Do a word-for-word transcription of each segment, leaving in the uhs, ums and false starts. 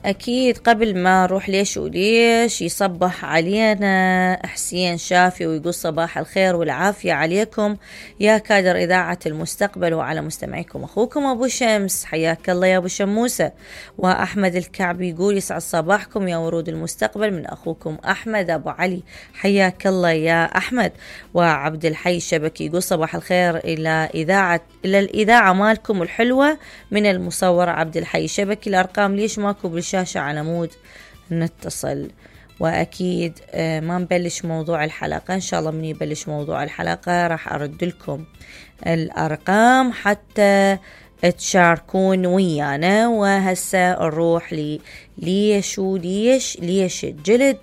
أكيد قبل ما نروح ليش وليش يصبح علينا حسين شافي ويقول صباح الخير والعافية عليكم يا كادر إذاعة المستقبل وعلى مستمعيكم أخوكم أبو شمس، حياك الله يا أبو شموسة. وأحمد الكعبي يقول يسعد صباحكم يا ورود المستقبل من أخوكم أحمد أبو علي، حياك الله يا أحمد. وعبد الحي الشبكي يقول صباح الخير إلى إذاعة إلى الإذاعة مالكم الحلوة من المصور عبد الحي الشبكي. الأرقام ليش ماكو بالشاشة على مود نتصل؟ وأكيد ما نبلش موضوع الحلقة، إن شاء الله من يبلش موضوع الحلقة راح أرد لكم الأرقام حتى تشاركون ويانا. وهسه نروح لي ليش وليش ليش الجلد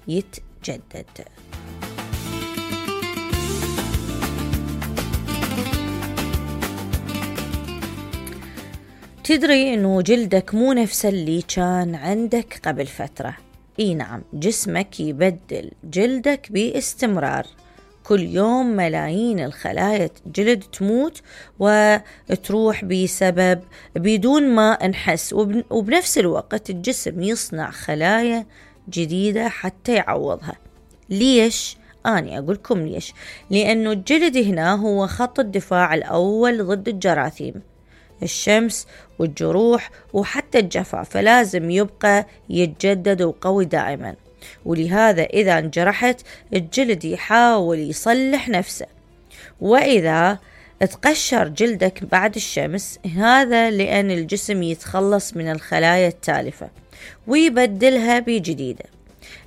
يتجدد. تدري انه جلدك مو نفس اللي كان عندك قبل فترة؟ اي نعم، جسمك يبدل جلدك باستمرار، كل يوم ملايين الخلايا جلد تموت وتروح بسبب بدون ما نحس، وبنفس الوقت الجسم يصنع خلايا جديدة حتى يعوضها. ليش؟ أنا أقولكم ليش. لأنه الجلد هنا هو خط الدفاع الأول ضد الجراثيم، الشمس والجروح وحتى الجفاف، فلازم يبقى يتجدد وقوي دائما. ولهذا إذا انجرحت الجلد يحاول يصلح نفسه، وإذا تقشر جلدك بعد الشمس هذا لأن الجسم يتخلص من الخلايا التالفة ويبدلها بجديدة.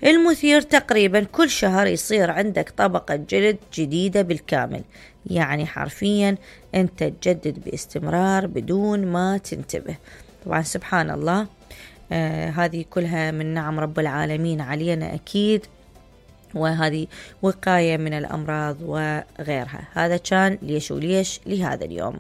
المثير تقريبا كل شهر يصير عندك طبقة جلد جديدة بالكامل، يعني حرفيا أنت تجدد باستمرار بدون ما تنتبه. طبعا سبحان الله، آه هذه كلها من نعم رب العالمين علينا أكيد، وهذه وقاية من الأمراض وغيرها. هذا كان ليش وليش لهذا اليوم.